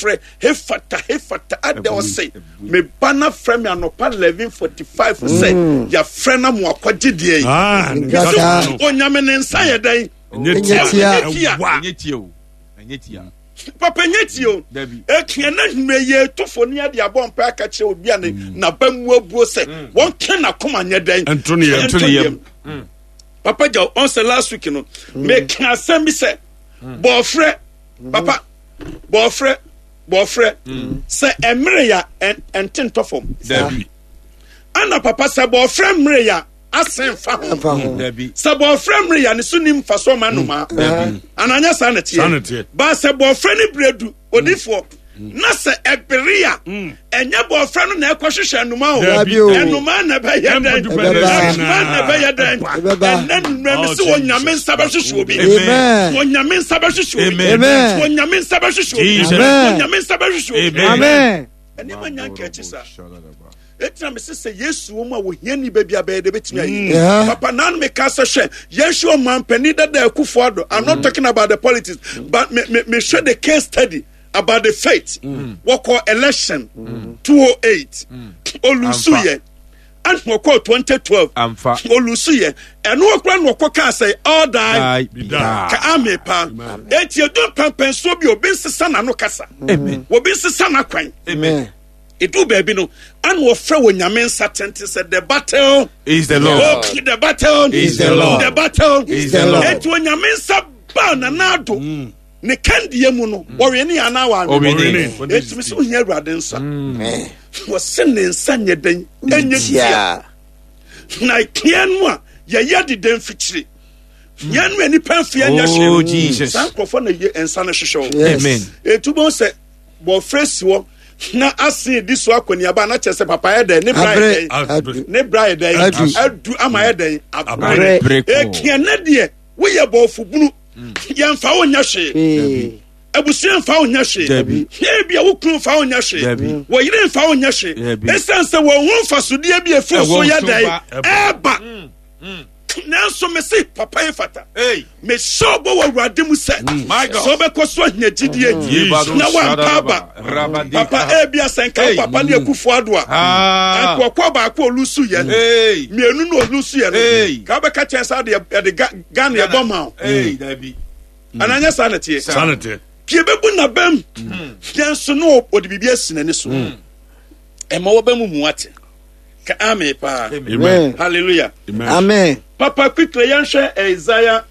frɛ hefata hefata adɛ ɔse me ba na frɛ me anɔpa 11:45 sɛ mm. yɛafrɛ na mo akɔgye deɛ yi ah, onyame ne nsa yɛ dɛn ɛnyɛ tia o ɛnyɛ tia papa nyɛ tie o ɛtua na nnua yɛ etofo ne ade abɔ mpa aka kyerɛ obi a ne mm. n'aba mu abuo sɛ mm. wɔn ka n'akoma nyɛ dɛn nto ne yam nto ne yam mm. papa gya ɔn sɛ last week no meka asɛm bi sɛ bɔɔfrɛ papa bɔɔfrɛ bɔɔfrɛ sɛ ɛmere ya ɛnte ntɔ fam ana papa sɛ bɔɔfrɛ mmere ya asɛn fa ho sɛ bɔɔfrɛ mmere ya ne so ni mfasoɔ ma nnomaa ananyɛ saa na teɛ ba sɛ bɔɔfrɛ ne berɛ du odifoɔ na sɛ ɛbere a ɛnyɛ bɔɔfrɛ no na ɛkɔhwehwɛ nnomaa o nnomaa na ɛbɛyɛ dɛn nnomaa na ɛbɛyɛ dɛn ɛnɛ nnumɛ mi sɛ onyame nsa bɛhwehwɛ obi onyame nsa bɛhwehwɛ obi onyame nsa bɛhwehwɛ obi onyame nsa bɛhwehwɛ obi ɛnneɛma nya nkɛkyi saa Eti na mese sɛ Yesu wɔ mu a wɔhia ni baabi a bɛyɛ de bɛtumi ayi. Mm. Papa nan me ka sɛ hwɛ yɛnhwɛ ɔmampanin dada Akufo Addo. I'm not mm. talking about the politics but me me me hwɛ the case study about the faith. Mm. Wɔkɔ election mm. 208 mm. olusu yɛ ɛna wɔkɔ 2012 olusu yɛ ɛno ɔkura na ɔkɔ kaa sɛ all die ka ame paa eti edu mpɛmpɛnsoɔ bi obi nsesa n'ano kasa obi nsesa n'akwan. Amen. Eduu baabi no, ana wɔfrɛ wɔ Nyame nsa tenten sɛ the battle is the Lord. Oh, the battle is the Lord. The battle is the Lord. Eti Onyame nsa baa Nana Addo mm. ne kandeɛ mu no, mm. wɔwe ne anaa wɔanwe. Eti mi sɛ ohia Awurade nsa. Mm. Wɔse ne nsa nyɛ dɛn ɛnyɛ tia. Na kia no a yɛyɛ deda mfikyire. Yɛn no a nipa mfeɛ nyɛ oh, hwee. Saa nkurɔfoɔ na yɛ nsa no hyehyɛ wɔn. Amen. Etu bɔn sɛ bɔfrɛ si hɔ na ase di so akɔneaba na kyerɛ sɛ papa yɛ dɛn ne bra yɛ dɛn ne bra yɛ dɛn adu ama yɛ dɛn abrɛ ekia ne deɛ woyɛ bɔfo bunu mm. yɛnfa wo nyɛ hwee abusua nfa wo nyɛ hwee ebi a wo kunu nfa wo nyɛ hwee wɔ yere nfa wo nyɛ hwee esan sɛ wɔn ho nfasodeɛ bi efiri so yɛ dɛn ɛɛba. Mm. Mm. nanso mese papa yi fata mehyɛ ɔbɔ wɔ awurade mu sɛ mm. sɛ wobɛkɔ so ahia gyidie mm. na woampa aba papa ebi asɛnka wo papa ne akufo ado a ah. ankoakoa baako olusu yɛ mmienu na olusu yɛ no ka wobɛka kyɛn sɛ ade yɛde Ghana yɛbɔ ma wo ananyɛ saa na teɛ pie bɛbu nabam yɛn so no ɔde biribi asi n'ani so ɛma wɔbɛmu mu ate Ka amen paa. Amen. Hallelujah. Amen. Papa quickly yɛnhwɛ Isaiah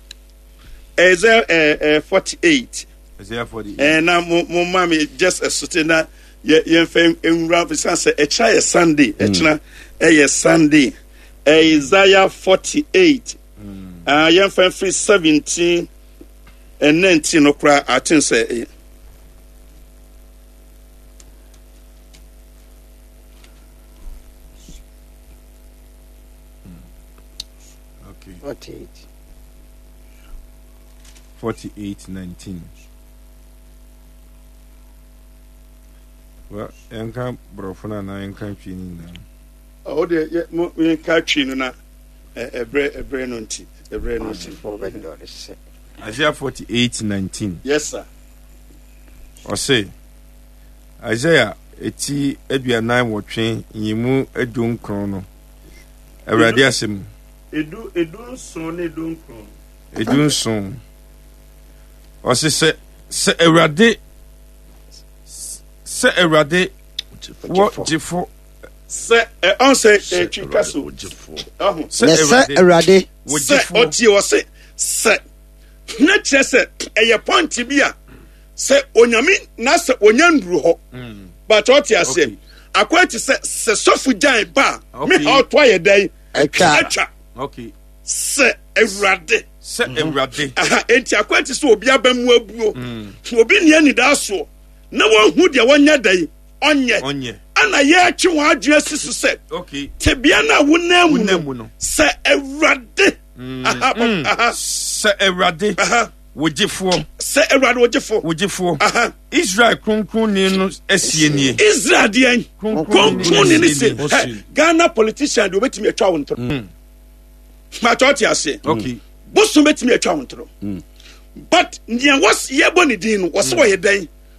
Isaiah eh, eh, 48. Isaiah 48. Eh, na mo mo ma me just ɛsote na yɛ yɛnfɛ nwura bisan sɛ ɛkyerɛ yɛ Sunday ɛkyerɛ ɛyɛ Sunday Isaiah 48. Mm. Ah, yɛnfɛ mfiri 17 and 19 no koraa aten sɛ eh, Okay. 48. 48 19. Well, yɛnka borɔfo no anaa yɛnka twi no nyinaa? Ɔwɔ deɛ yɛ mo yɛnka twi no na ɛbrɛ ɛbrɛ no nti ɛbrɛ no nti. Isaiah 48 19. Yes sir. Ɔse. Isaiah eti 48 nyimu 19 no, Awurade asɛm. Edu 17 ne 19. 17. Ɔse sɛ sɛ Awurade sɛ Awurade wɔ gyefo. Sɛ ɛ ɔn sɛ ɛtwi ka so. Ɔho. Sɛ Awurade. Sɛ ɔtie ɔse sɛ na kyerɛ sɛ ɛyɛ pɔnte bi a. sɛ onyame na sɛ onya nduru hɔ mm. but ɔte aseɛ akɔyɛ te sɛ sɛ sɔfo gyan ba a me ha ɔto ayɛ dɛn atwa sɛ awurade sɛ mhm. awurade aha enti akɔyɛ te sɛ obi aba mu abuo mm. obi nea anidaa soɔ na wɔnhu deɛ wɔnyɛ dɛn ɔnyɛ ɛna yɛretwe wɔn adwene asi so sɛ tebea no a wonam mu no sɛ awurade mm. sɛ awurade Wo gyefoɔ. Sɛ Awurade wo gyefoɔ. Wo gyefoɔ. Israel kronkronni no asie nie. Israel deɛn? Kronkronni no sie. Ghana politician deɛ obetumi atwa wo ntoro. Mm. Màtɔ ɔte aseɛ. Okay. Bosom betumi atwa wo ntoro. Mm. But nea wɔs yɛbɔ ne din no wɔsɛ mm. wɔyɛ dɛn?